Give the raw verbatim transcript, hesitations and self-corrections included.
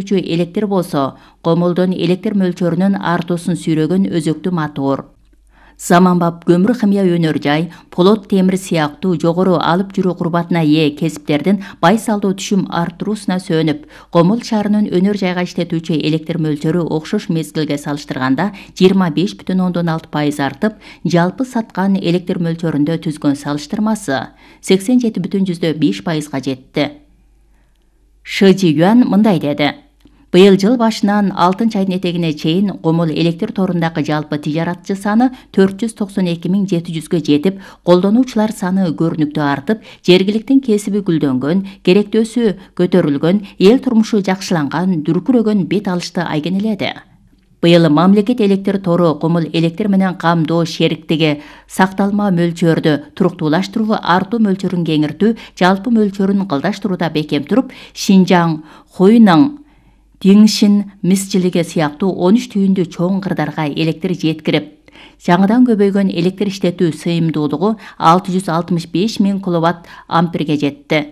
электр болсо, комулдун электр мөлчөрүнүн артуусун сүйрөгөн өзөктүү мотор. Заманбап көмүр химия өнөр жай, полот темир сыяктуу жогору алып жүрүү курбатына ээ кесиптердин байсалдуу түшүм арттыруусуна сөөнүп, Комул шаарынын өнөр жайга иштетүүчү электр мөлчөрү окшош мезгилге салыштырганда жыйырма беш бүтүн ондон алты пайыз артып, жалпы саткан электр мөлчөрүндө түзгөн салыштырмасы сексен жети бүтүн жүздө беш пайызга жетти. Шы Жи-юан мындай деди: Быйыл жыл башынан алтынчы айдын этегине чейин Комул электр торундагы жалпы тижаратчы саны төрт жүз токсон эки миң жети жүзгө жетип, колдонуучулар саны көрүнүктүү артып, жергиликтин кесиби гүлдөнгөн, керектөөсү көтөрүлгөн, эл турмушу жакшыланган, дүркүрөгөн бет алышты айгинеледи. Быйыл мамлекет электр тору Комул электр менен камдоо шериктиги сакталма мөлчөрдү туруктуулаштыруу, артуу мөлчөрүн кеңиртүү, жалпы мөлчөрүн кылдаштырууда бекем туруп, Шинжаң, Хуйнын, Тиңшин, Мисжилиге сыяктуу он үч түйүндүү чоң кырдарга электр жеткирип, жаңыдан көбөйгөн электр иштетүү сыйымдуулугу алты жүз алтымыш беш миң киловатт амперге жетти.